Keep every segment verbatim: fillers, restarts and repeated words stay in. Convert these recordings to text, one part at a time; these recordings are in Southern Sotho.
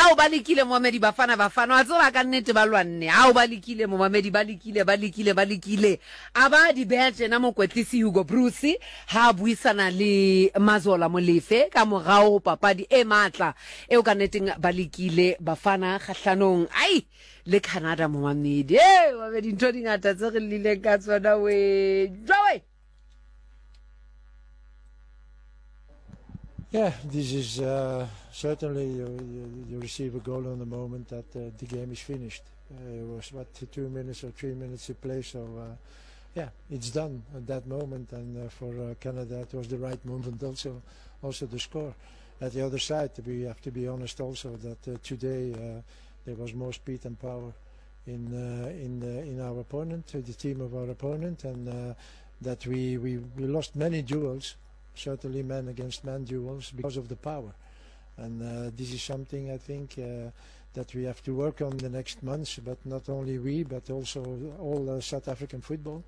Ao ba lekile momamedi, Bafana Bafana, wa tseba ka nnete ba lwanne. Ao ba lekile momamedi, ba lekile, ba lekile, ba lekile. A ba di beha tjena mokwetlisi Hugo Broos ha a buisana le Mazola Molefe ka morao ho papadi e matla eo ka nneteng ba lekile Bafana kgahlanong ai le Canada momamedi. Ee, momamedi, ntho di ngata tse re llileng ka tsona we. Jwawe! Yeah, this is uh, certainly you, you, you receive a goal on the moment that uh, the game is finished. Uh, it was what two minutes or three minutes to play, so uh, yeah, it's done at that moment. And uh, for uh, Canada, it was the right moment also, also to score. At the other side, we have to be honest also that uh, today uh, there was more speed and power in uh, in uh, in our opponent, the team of our opponent, and uh, that we, we we lost many duels. Certainly man against man duels because of the power, and uh, this is something I think uh, that we have to work on the next months, but not only we but also all uh, South African football,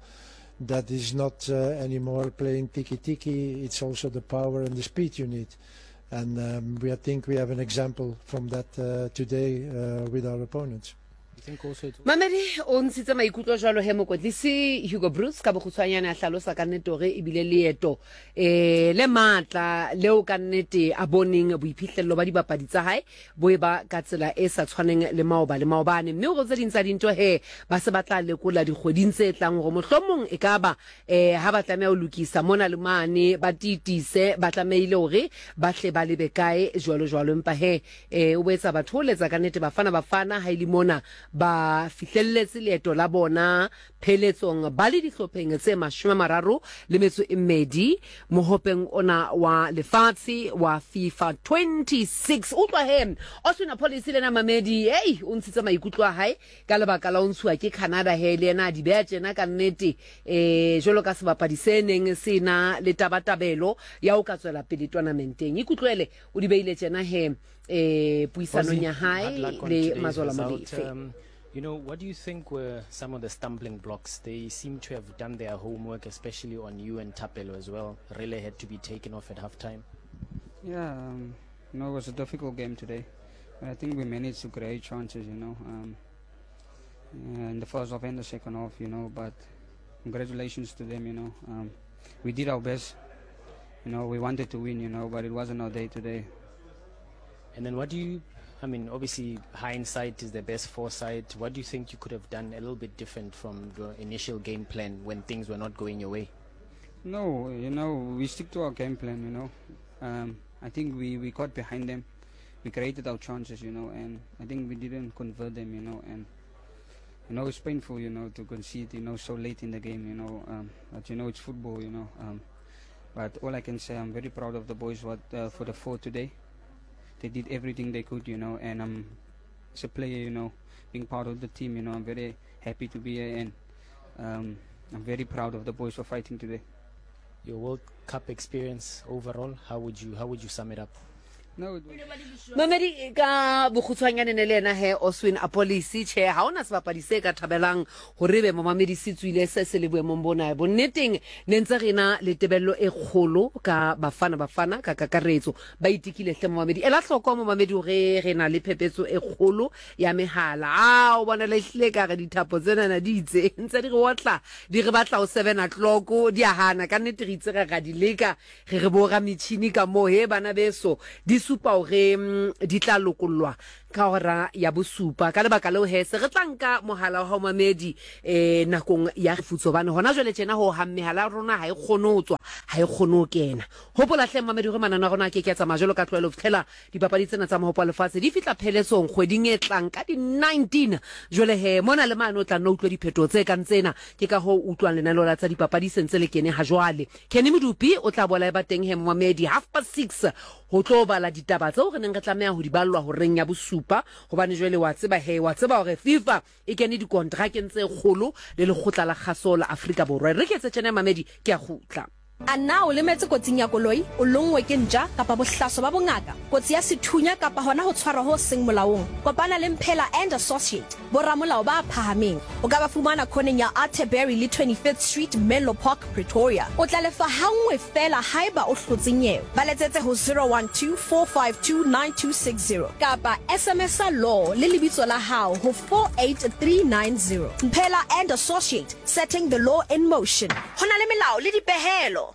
that is not uh, anymore playing tiki-tiki. It's also the power and the speed you need, and um, we I think we have an example from that uh, today uh, with our opponents. Mamedi o ntshitse maikutlo jwalo he mokwetlisi Hugo Broos ka bokgutshwanyane a hlalosa ka nnete hore ebile leeto eh le matla leo ka nnete a boneng boiphihlello ba dibapadi tsa hae bo e ba ka tsela e sa tshwaneng le maoba le maobane, mme hore tse ding tsa dintho he ba se ba tla lekola dikgweding tse tlang hore mohlomong e ka ba eh ha ba tlameha ho lokisa mona le mane ba titise ba tlamehile hore ba hle ba lebe kae jwalo jwalo. Empa he eh o boetsa batho ho letsa ka nnete Bafana Bafana ha ile mona ba fihlelletse leeto la bona pheletsong ba le dihlopheng tse mashome a mararo le metso e mmedi mohopeng ona wa lefatshe wa FIFA twenty-six. Utlwa he Oswin Appollis le na mamedi, hey, o ntshitse maikutlo a hae ka lebaka la ho ntshuwa ke Canada he le yena a di beha tjena ka nnete eh jwalo ka sebapadi se neng se na le tabatabelo ya ho ka tswela pele tournamenteng. Ikutlwele o di beile tjena he eh puisanong ya hae le Mazola Molefe. You know, what do you think were some of the stumbling blocks? They seem to have done their homework, especially on you and Tapelo as well. Really had to be taken off at halftime. Yeah, um, you know, it was a difficult game today. But I think we managed to create chances, you know, um, in the first half and the second half, you know, but congratulations to them, you know. Um, we did our best. You know, we wanted to win, you know, but it wasn't our day today. And then what do you, I mean, obviously hindsight is the best foresight. What do you think you could have done a little bit different from your initial game plan when things were not going your way? No, you know, we stick to our game plan, you know. Um, I think we, we got behind them. We created our chances, you know, and I think we didn't convert them, you know. And, you know, it's painful, you know, to concede, you know, so late in the game, you know. Um, but, you know, it's football, you know. Um, but all I can say, I'm very proud of the boys what uh, for the four today. They did everything they could, you know, and um, as a player, you know, being part of the team, you know, I'm very happy to be here, and um, I'm very proud of the boys for fighting today. Your World Cup experience overall, how would you how would you sum it up? No, it Mamedi ka bokgutshwanyane ne le yena he Oswin Appollis tjhe ha ona sebapadi se ka thabelang hore be momamedi se tswile se se le boemong bona. Bonneteng ne ntse re na le tebello e kgolo ka Bafana Bafana ka kakaretso ba itikile hle momamedi. Ela hloko momamedi hore re na le phepetso e kgolo ya mehala. A o bona le hlile ka re dithapo tsena na di itse ntse di re otla di re batla ho seven o'clock di a hana ka nnete re itse re ra di leka re re bo ra metjhini ka moo he bana beso di supa hore di tla lokollwa ka hora ya bosupa. Ka lebaka leo he se re tla nka mohala wa hao mamedi eh nakong ya futso bane hona jwale tjena ho ha mehala rona ha e kgone ho tswa ha e kgone ho kena. Hopola hle mamedi hore manana rona ke ke tsamaya jwalo ka tlwaelo ho fihlela dipapadi tsena tsa mohopo wa lefatshe di fihla pheletsong kgweding e tlang ka di nineteen. Jwale he mona le mane o tla nna utlwe diphetho tse kang tsena ke ka ho utlwang lenaneo la tsa dipapadi se ntse le kene ha jwale. Kenny Modupi o tla bola e ba teng he mamedi half past six ho tlo bala ditaba tseo re neng re tlameha ho di ballwa horeng ya bosupa hobane jwale wa tseba he wa tseba hore FIFA e kene dikontrakeng tse kgolo le lekgotla la kgaso la Afrika Borwa. Re ke etse tjena mamedi ke a kgutla. A na o lemetse kotsing ya koloi, o lonngwe ke ntja kapa bohlaso ba bongaka, kotsi ya sethunya kapa hona ho tshwarwa ho seng molaong? Kopana le Mphela and Associate, boramolao ba phahameng. O ka ba fumana khoneng ya Atterbury le twenty-fifth Street, Menlo Park, Pretoria. O tla lefa hangwe fela haeba o hlotse nyewe. Ba letsetse ho zero one two, four five two, nine two six zero kapa S M S law le lebitso la hao ho four eight three nine zero. Mphela and Associate, setting the law in motion. Ho na le melao le dipehelo.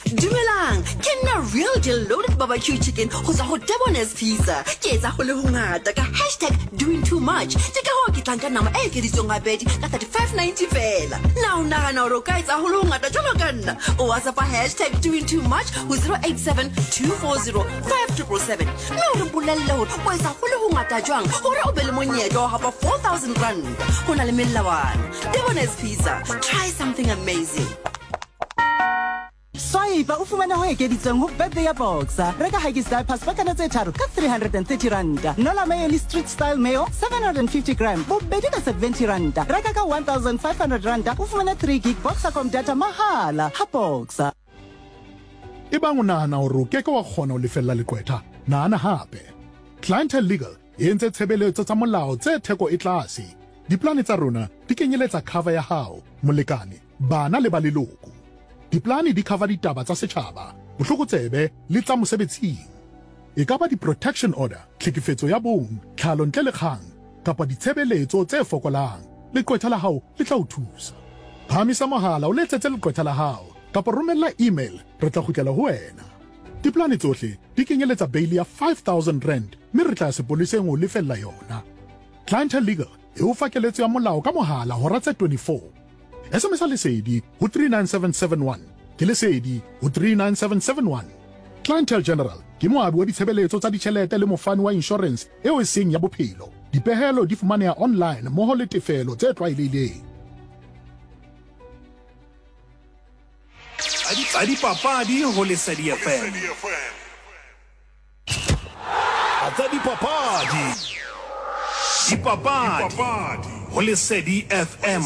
Dumelang, ke nna real deal loaded barbecue chicken ho tswa ho Debonairs Pizza. Ke etsa ho le hongata ka hashtag doing too much. Ke ka hoo ke tlang ka nama e ekeditsweng habedi ka thirty-five ninety fela. Na o nahana hore o ka etsa ho le hongata jwalo ka nna? O WhatsApp hashtag doing too much ho zero eight seven, two four zero, five triple seven. Mme o re bolelle hore o etsa ho le hongata jwang hore o be le monyetla wa hapa four thousand rand. Ho na le melawana. Debonairs Pizza, try something amazing. Swipe o fumane ho ekeditsweng ho birthday ya Boxer. Reka Huggies diapers pakana tse tharo ka three hundred and thirty rand. Nola mayo le street style mayo seven hundred and fifty gram bobedi ka seventy rand. Reka ka one thousand five hundred rand o fumane three gig Boxercom data mahala ha Boxer. Ebang o nahana hore o ke ke wa kgona ho lefella leqwetha, nahana hape. Clientele Legal e entse tshebeletso tsa molao tse theko e tlase. Diplane tsa rona di kenyeletsa cover ya hao, molekane, bana le ba leloko. Diplane di cover ditaba tsa setjhaba, bohlokotsebe le tsa mosebetsing. E ka ba di-protection order, tlhekefetso ya bong, tlhalo ntle le kgang, kapa ditshebeletso tse fokolang. Leqwetha la hao le tla o thusa. Phahamisa mohala o letsetse leqwetha la hao kapa romella email, re tla kgutlela ho wena. Diplane tsohle di kenyeletsa bail ya five thousand rand mme re tla ya sepoleseng ho lefella yona. Clientele Legal e o fa keletso ya molao ka mohala hora tse twenty-four. S M S Lesedi ho three nine seven seven one. Ke Lesedi ho three nine seven seven one. Clientele General ke moabi wa ditshebeletso tsa ditjhelete le mofani wa insurance eo e seng ya bophelo. Dipehelo di fumaneha online mmoho le tefelo tse tlwaelehileng. Tsa dipapadi ho Lesedi F M. Tsa dipapadi. Dipapadi ho Lesedi F M.